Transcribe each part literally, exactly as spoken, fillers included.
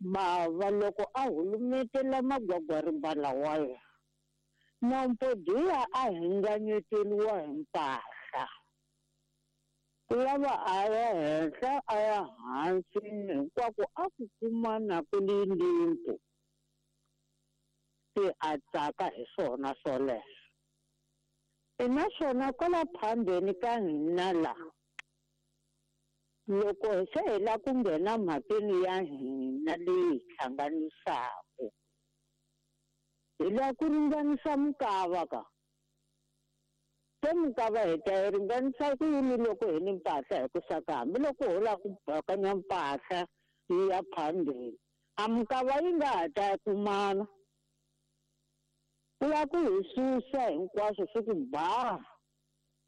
Bava loko a hulumetela magwagwarimba lawaya, Nampodiya a hinganyeteriwa hi mpahla. Ku lava a ya henhla a ya hansi hinkwako a ku kumana ku li limpu. Se a tsaka hi swona swoleswo. E naswona kwala phambeni ka hina la, loko se hi la ku nghena mhakeni ya hina leyi hi hlanganisaka, hi la ku ringanisa minkava ka. Se minkava hi ta yi ringanisa ku yini loko hi ni mpahla hi ku saka hambiloko ho lava ku bakanya mpahla yi ya phambeni, a minkava yi nga ha ta kumana. Ku lava ku hi susa hinkwaswo swi ku ba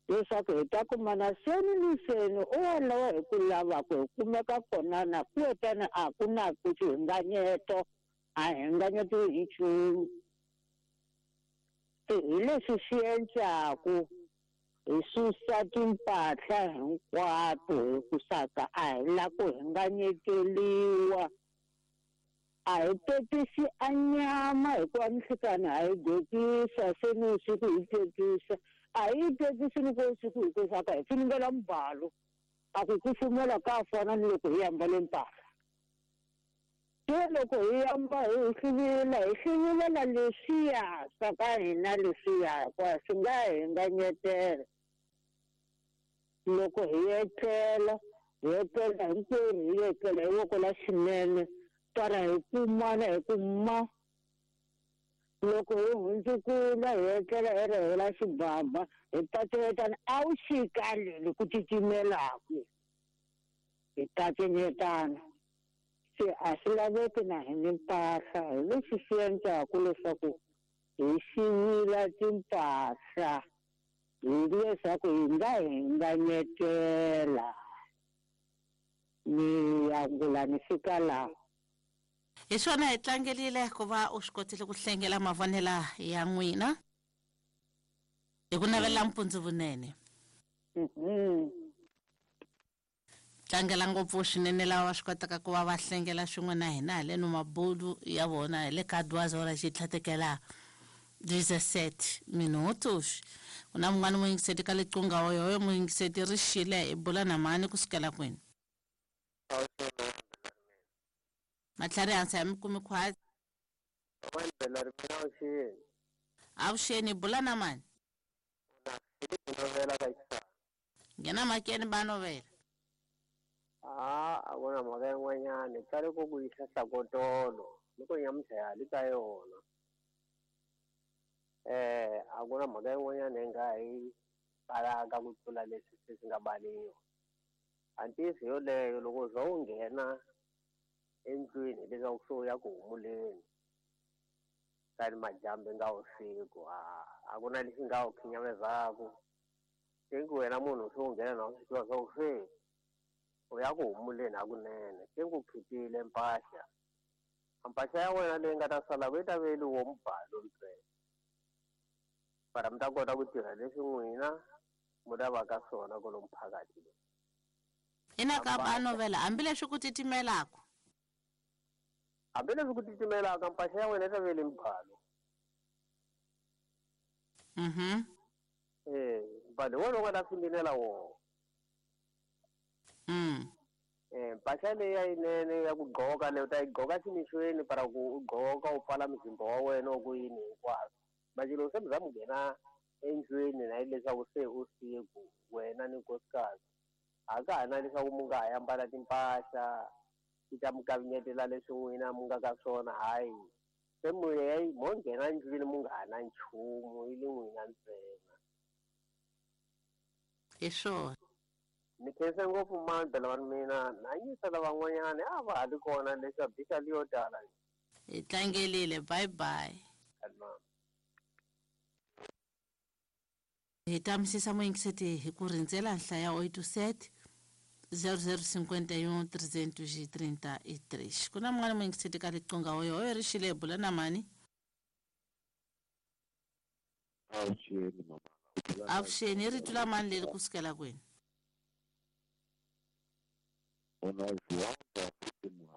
leswaku hi ta kumana seni ni seni u walowo hi ku lavaka hi kumeka kona na ku etana a ku na ku xihinganyeto, a hinganyetiwi hi nchumu. Se hi leswi swi endlaku hi susa timpahla hinkwato hi ku saka a hi lava ku hinganyeteriwa. A hi tetisi a nyama hikuva minhlikani ha yi gokisa se ni usiku hi tetisa. A hi tetisi loko usiku hi ku saka hi finingela mubalo. A ku kufumela ka fana ni loko hi ambale mpahla. Se loko hi amba hi hluvula, hi hluvulela leswiya swa ka hina leswiya hikuva swi nga hinganyetela. Loko hi etlela, hi etlela hinkwerhu hi etlela hi voko la xinene, para hi kumana hi ku ma. Loko hi hundzukula hi etlela hi rihela xibaba, hi paceletana a wu xika leli ku titimelaka. Hi paceletana. Se a swi laveki na hi ni mpahla, hi leswi swi endlaku leswaku hi xivila timpahla, hi leswaku hi nga hinganyetela. Ni angula ni fika laha. Hi swona hi tlangerile ku va u swi kotile ku hlengela mavonelo ya n'wina hi ku navela mpundzu vunene. Tlangela ngopfu swinene lava va swi kotaka ku va va hlengela swin'we na hina haleno mabulu ya vona hi le ka duas horas xi tlhatekela dezessete minutos. Ku na mun'wana muyingiseti ka liqunga oyo muyingiseti ri xile hi bula na mani kusukela kwini? Matlhari hansi ya mi kumi khwatsi. Avuxeni, bula na mani? Nghena makeni ba novela. Ah, a ku na mhaka yin'wanyana tsale ku ku yisa hlakotolo loko nyamuntlha ya hali ka yona. Eh, a ku na mhaka yin'wanyana hi nga yi balaka ku tlula leswi se swi nga baliwa. A ntiyiso yoleyo loko u za u nghena endlwini leswaku se u ya ku humuleni kani madyambu nga vusiku, a a ku na lexi nga wu khinyamezaka. Se ku wena munhu se u nghena na u swi tiva swa ku se u ya ku humuleni hakunene, se ku khipile mpahla. Mpahla ya wena leyi nga ta sala yi ta veliwa mubalo ntsena. Para mi ta kota ku tirha leswi n'wina mi lavaka swona kwalomu phakathi. Ina ka ba novela hambileswi ku titimelaka. Hambileswi ku titimelaka mpahla ya wena yi ta vele mubalo. Mhm. Eh, mbalo wona u nga ta fingelela wona. Mm. Eh, mpahla leyi ya yinene ya ku gqoka leyi u ta yi gqoka ximixweni para ku u gqoka u pfala muzimba wa wena ku yini hinkwaswo. Manje loko se mi za mi nghena endlwini na hileswaku se usiku wena ni nkosikazi, a ka ha na leswaku mi nga ha ambala timpahla ti ta mi kavinyetela leswi n'wina mi nga ka swona, hayi. Se mo ya mo nghena endlwini mi nga ha na nchumu yi le n'wina ntsena. Hi swona. Ni khensa ngopfu mandla lava mina na yisa lavan'wanyana a va ha ri kona leswaku bisa leyo tala. Hi tlangelile, bye bye. Hi ta misisa muyingiseti hi ku rindzela nhlaya oito sete zero zero cinquenta e um trezentos e trinta e três. Ku na mun'wana muyingiseti ka riqingho oyo oyo ri xile bula na mani? Avuxeni mama. Avuxeni, rito la mani leri kusukela kwini? Ona João da Fatima.